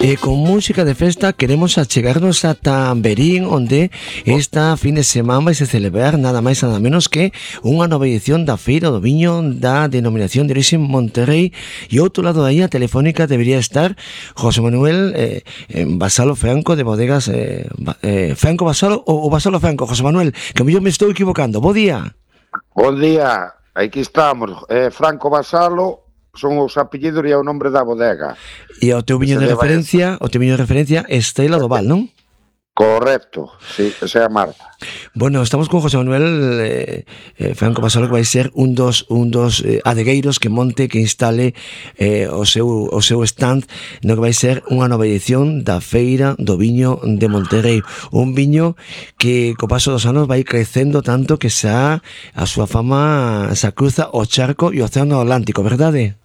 E con música de festa queremos achegarnos ata Verín, onde esta fin de semana vai se celebrar nada máis nada menos que unha nova edición da Feira do Viño da denominación de orixe Monterrey, e outro lado aí a telefónica debería estar José Manuel Vasalo Franco de Bodegas Franco Vasalo ou Vasalo Franco. José Manuel, que yo me estou equivocando. Bo día. Bon día, aquí estamos. Franco Vasalo son os apellidos e o nombre da bodega. E o teu viño de referencia, Estrela do Val, non? Correcto, sí, esa é a marca. Bueno, estamos con José Manuel Franco Vasalo, que vai ser un dos adegueiros que monte, que instale o seu stand no que vai ser unha nova edición da Feira do Viño de Monterrey. Un viño que co paso dos anos vai crecendo tanto que xa a súa fama xa cruza o charco e o Océano Atlántico, verdade?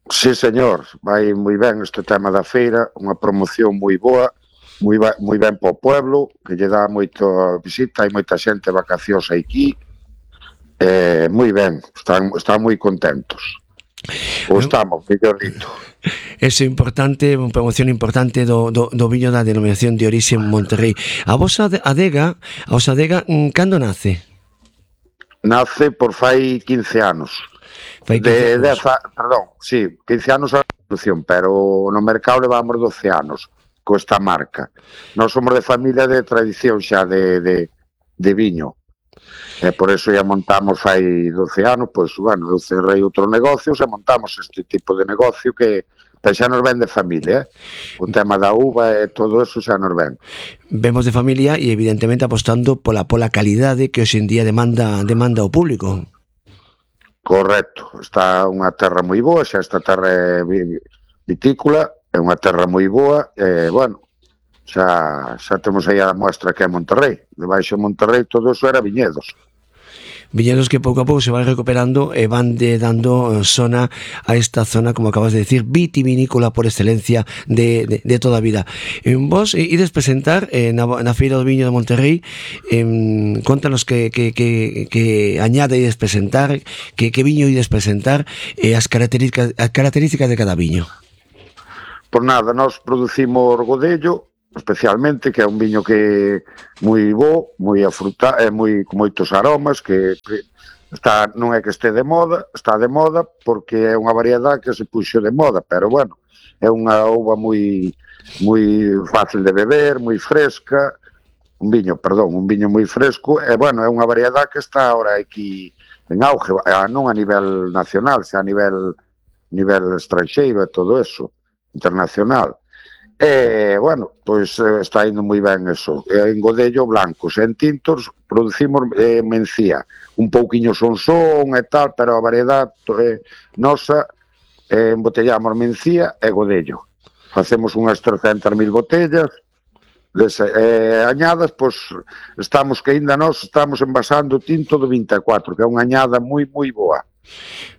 Sí, señor, vai moi ben este tema da feira, unha promoción moi boa, moi ben para o pueblo, que lle dá moita visita, hai moita xente de vacacións aquí, moi ben, están moi contentos. Estamos, mellorito. Eso é importante, unha promoción importante do viño da denominación de orixe Monterrey. A vosa adega, cando nace? Nace por fai 15 anos. Perdón, sí, 15 anos a produción, pero no mercado levamos 12 anos con esta marca. Nós somos de familia de tradición xa de viño. Por eso ya montamos fai 12 anos, pois, bueno, eu cerrei outros negocios e montamos este tipo de negocio que xa nos ven de familia, o tema da uva e todo eso xa nos ven. Vemos de familia e evidentemente apostando pola calidade que hoxe en día demanda o público. Correcto, está unha terra moi boa, xa esta terra é vitícola, é unha terra moi boa, bueno, xa temos aí a mostra que é Monterrey, debaixo de Monterrey todo eso era viñedos. Viñedos que pouco a pouco se van recuperando e van dando zona a esta zona, como acabas de decir, vitivinícola por excelencia de toda a vida. Vos ides presentar na Feira do Viño de Monterrey, contanos que añade ides presentar, que viño ides presentar e as características de cada viño. Por nada, nós producimos Godello, especialmente, que é un viño que moi bo, moi afrutado, con moitos aromas, que está, non é que este de moda, está de moda porque é unha variedade que se puxo de moda, pero bueno, é unha uva moi fácil de beber, moi fresca, un viño moi fresco, e bueno, é unha variedade que está ahora aquí en auge, non a nivel nacional, xa a nivel estranxeiro e todo eso, internacional. Bueno, pois está indo moi ben eso. En Godello blancos, en tintos producimos mencía, un pouquiño son e tal, pero a variedade nosa embotellamos mencía e Godello. Facemos unhas 300.000 botellas añadas, pois estamos envasando tinto do 24, que é unha añada moi boa.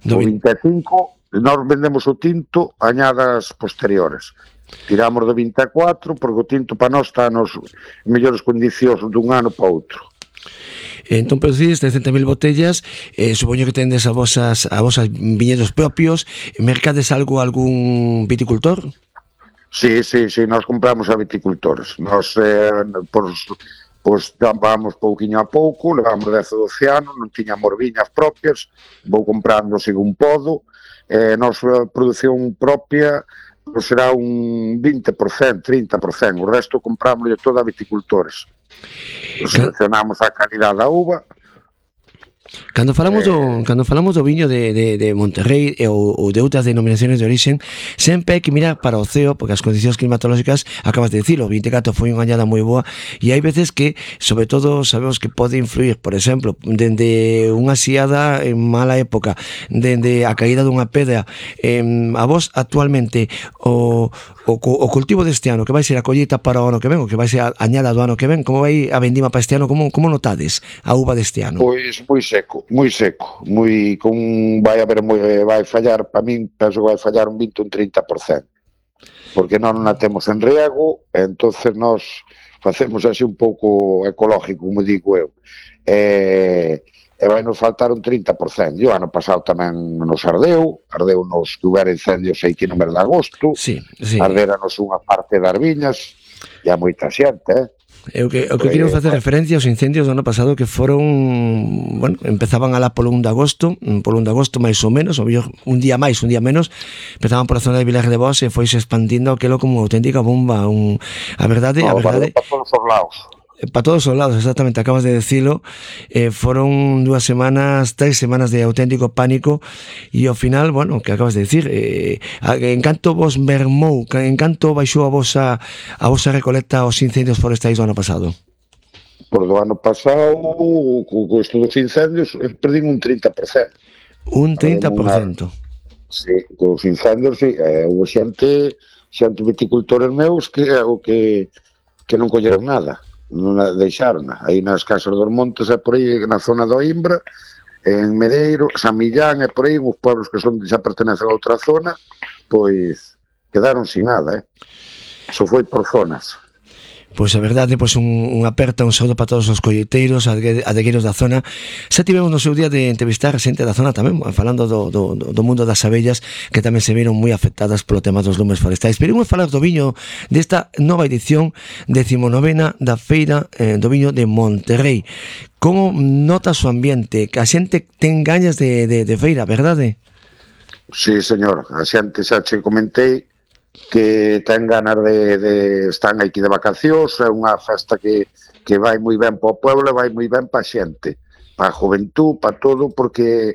O 25 nós vendemos o tinto añadas posteriores. Tiramos do 24 porque o tinto para nós está nos mellores condicións dun ano para outro. Entón producides 300.000 botellas, supoño que tendes a vosas viñedos propios. Mercades algún viticultor? Sí, nós compramos a viticultores. Nós vamos pouquiño a pouco, levamos 10 ou 12 anos, non tiñamos viñas propias, vou comprando según podo. Nosa produción propia será un 20%, 30%, o resto compramos todo a viticultores. Seleccionamos a calidade da uva. Cando falamos do viño de Monterrey ou de outras denominaciones de origen, sempre hai que mirar para o ceo, porque as condicións climatolóxicas, acabas de dicilo, o 24 foi unha añada moi boa, e hai veces que, sobre todo, sabemos que pode influir, por exemplo, dende unha xiada en mala época, dende a caída dunha pedra. A vos, actualmente, o cultivo deste ano, que vai ser a colleita para o ano que ven, o que vai ser a añada do ano que ven, como vai a vendima para este ano, como notades a uva deste ano? Pois moi seco, vai fallar, para min, penso que vai fallar un 20 ou un 30%, porque non a temos en riego, entonces nós facemos así un pouco ecológico, como digo eu, e vai nos faltar un 30%. E o ano pasado tamén nos ardeu nos que hubera incendios aquí no mes de agosto, sí. ardéranos unha parte das viñas, e a moita xente, O que quero facer referencia aos incendios do ano pasado que foron, bueno, empezaban alá polo 1 de agosto máis ou menos, ou un día máis, un día menos, empezaban pola zona de Vilar de Bos e foise expandindo aquilo como auténtica bomba, a verdade para todos os lados. Para todos os lados, exactamente, acabas de decilo. Foron 3 semanas de auténtico pánico e ao final, bueno, que acabas de decir, en canto vos mermou, en canto baixou a vosa recolecta os incendios forestais do ano pasado? Por do ano pasado, co isto dos incendios, perdín un 30%. Un 30%? Sí, cos incendios, sí. Houve xente viticultores meus que non colleron nada. Non a deixaron aí nas Casas dos Montes e por aí na zona do Imbra, en Medeiro, San Millán e por aí, uns pueblos que xa pertenecen a outra zona, pois quedaron sin nada, Eso foi por zonas. Pois a verdade, pois un aperta, un saúdo para todos os colleiteiros, adegueiros da zona. Xa tivemos no seu día de entrevistar a xente da zona tamén, falando do mundo das abellas, que tamén se viron moi afectadas polo tema dos lumes forestais. Pero imos falar do viño desta nova edición 19ª da Feira do Viño de Monterrei. Como notas o ambiente? Que a xente ten gañas de feira, verdade? Sí, señor, a xente xa che comentei que ten ganas de están aquí de vacacións, é unha festa que vai moi ben para o pueblo e vai moi ben para a xente, para a juventud, para todo, porque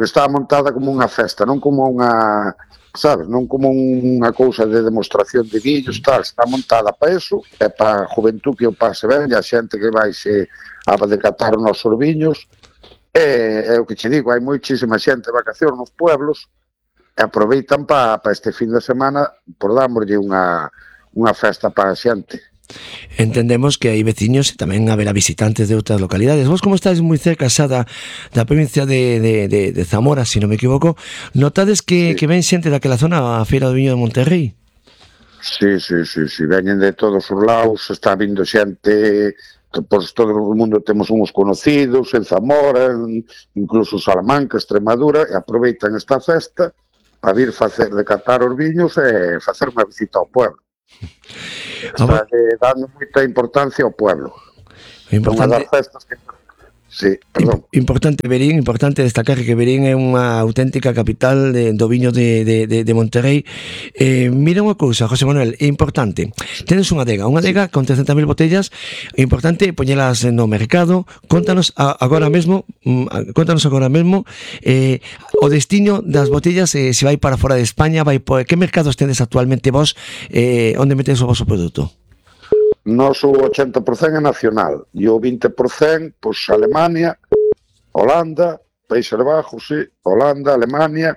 está montada como unha festa, non como unha, sabes, non como unha cousa de demostración de vídeos, tal, está montada para eso, é para a juventud que o pase ben, e a xente que vai a decatar os nosos viños, é o que che digo, hai moitísima xente de vacacións nos pueblos, e aproveitan para este fin de semana por darmoslle unha festa para a xente. Entendemos que hai veciños e tamén haberá visitantes de outras localidades. Vos, como estáis moi cerca xa da provincia de Zamora, se non me equivoco, notades que ven xente daquela zona a Feira do Viño de Monterrei? Sí, veñen de todos os lados, está vindo xente, pois todo o mundo temos uns conocidos en Zamora, incluso Salamanca, Extremadura, e aproveitan esta festa para vir decatar os viños e facer unha visita ao pueblo. Está dando moita importancia ao pueblo. Importante. Unha das festas que... Sí, perdón. Importante Verín, importante destacar que Verín é unha auténtica capital do viño de Monterrei. Mira unha cousa, José Manuel, é importante. Tenes unha adega con 300.000 botellas, é importante poñelas no mercado. Contanos agora mesmo o destino das botellas, se vai para fora de España, que mercados tedes actualmente vos, onde metes o vosso produto? Nos o 80% é nacional e o 20% pois Alemania, Holanda, Países Bajos, sí, Holanda, Alemania,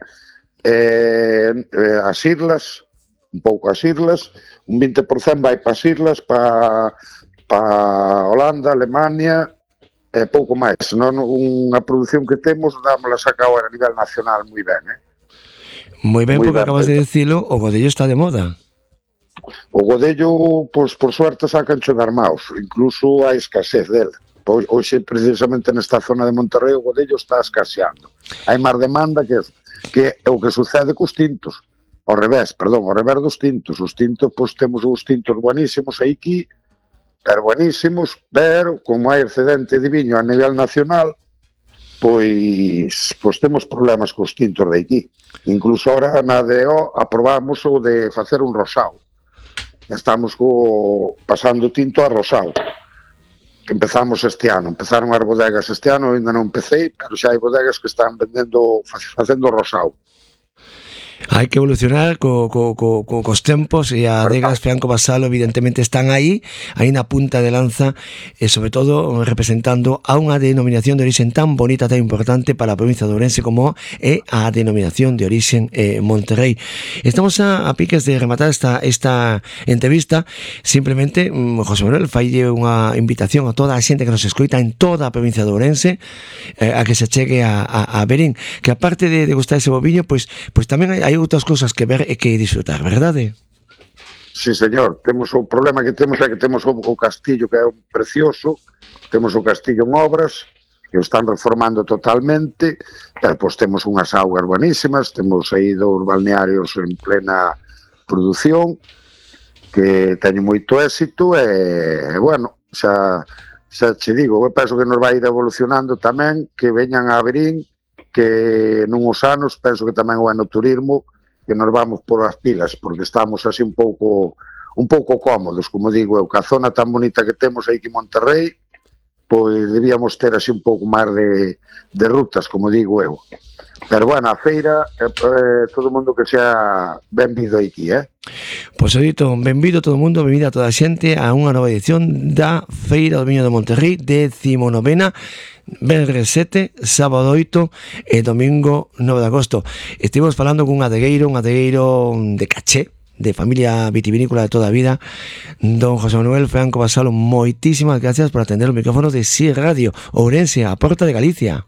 as islas, un pouco as islas, un 20% vai para as islas, para Holanda, Alemania, e pouco máis. Non unha produción que temos, dámola sacado a nivel nacional moi ben, Moi ben, porque acabas de dicilo, o godello está de moda. O godello, pois, por suerte, sacancho de armaos. Incluso hai escasez dele. Pois, hoxe, precisamente nesta zona de Monterrei, o godello está escaseando. Hai máis demanda que é o que sucede cos tintos. Ao revés dos tintos. Os tintos, pois, temos os tintos buenísimos aquí, pero buenísimos, pero como hai excedente de viño a nivel nacional, pois temos problemas cos tintos de aquí. Incluso ahora na DO aprobamos o de facer un rosao. Estamos pasando tinto a rosao, que empezamos este ano. Empezaron as bodegas este ano, ainda non empecé, pero xa hai bodegas que están facendo rosao. Hai que evolucionar cos tempos, e a adegas Franco Basalo evidentemente están aí na punta de lanza, e sobre todo representando a unha denominación de orixen tan bonita, tan importante para a provincia de Ourense como é a denominación de orixen Monterrei. Estamos a piques de rematar esta entrevista. Simplemente, José Manuel, faille unha invitación a toda a xente que nos escoita en toda a provincia de Ourense, a que se chegue a Verín, que aparte de gustar ese boviño, pois tamén hai outras cousas que ver e que disfrutar, verdade? Sí, señor. O problema que temos é que temos o castillo, que é precioso, temos o castillo en obras, que o están reformando totalmente, pero pois temos unhas augas buenísimas, temos aí 2 balnearios en plena produción, que teñen moito éxito, e bueno, xa che digo, eu penso que nos vai ir evolucionando tamén, que veñan a Verín, que nuns anos, penso que tamén o enoturismo, que nos vamos por as pilas, porque estamos así un pouco cómodos, como digo eu, que a zona tan bonita que temos aí que Monterrey, pois debíamos ter así un pouco máis de rutas, como digo eu. Pero bueno, a feira, todo o mundo que sea benvido aquí, Pois dito, benvido todo o mundo, benvida toda a xente a unha nova edición da Feira do Viño de Monterrey, 19ª, venres 7, sábado 8 e domingo 9 de agosto. Estivemos falando cun adegueiro de caché, de familia vitivinícola de toda a vida, don José Manuel Franco Basalo. Moitísimas gracias por atender os micrófonos de SI Radio Ourense, a porta de Galicia.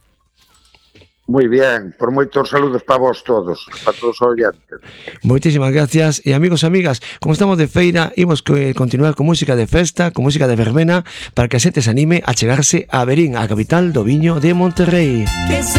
Moi bien, por moitos saludos para vos todos, para todos os oyentes. Moitísimas gracias, e amigos e amigas, como estamos de feira, imos continuar con música de festa, con música de verbena, para que a xente se anime a chegarse a Verín, a capital do viño de Monterrey. Que se